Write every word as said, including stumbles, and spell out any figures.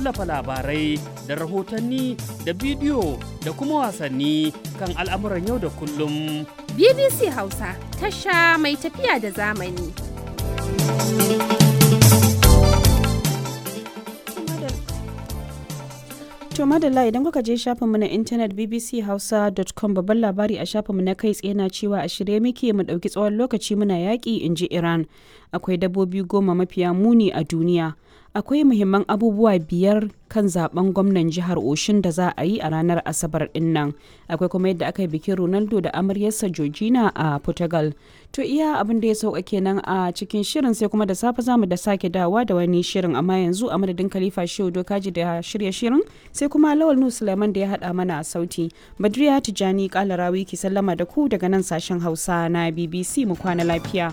Wallafa labarai da rahotanni da bidiyo da kuma wasanni kan al'amuran yau da kullum. B B C Hausa, tasha mai tafiya da zamani. To madalla, idan kuka je shafinmu na intanet b b c hausa dot com, babban labari a shafinmu na kai tsaye na cewa a shirye muke mu ɗauki tsawon lokaci muna yaƙi, in ji Iran. Akwai dabbobi goma mafiya muni a duniya. Akwai muhimman abubuwa biyar kan zaben gwamnan jihar Oshun da za a yi a ranar Asabar din nan. Akwai kuma yadda aka yi bikin Ronaldo da amaryarsa Georgina a Portugal. To iya abin da ya sauka kenan a cikin shirin, sai kuma da safe zamu da sake dawa da wani shirin, amma yanzu a madadin Khalifa Shehu Dokaji da shirya shirin, sai kuma Lawal Nu Suleiman da ya hada mana a sauti. Badriya Tijani Kalarawi ki sallama da ku daga nan sashen Hausa na B B C, mu kwana lafiya.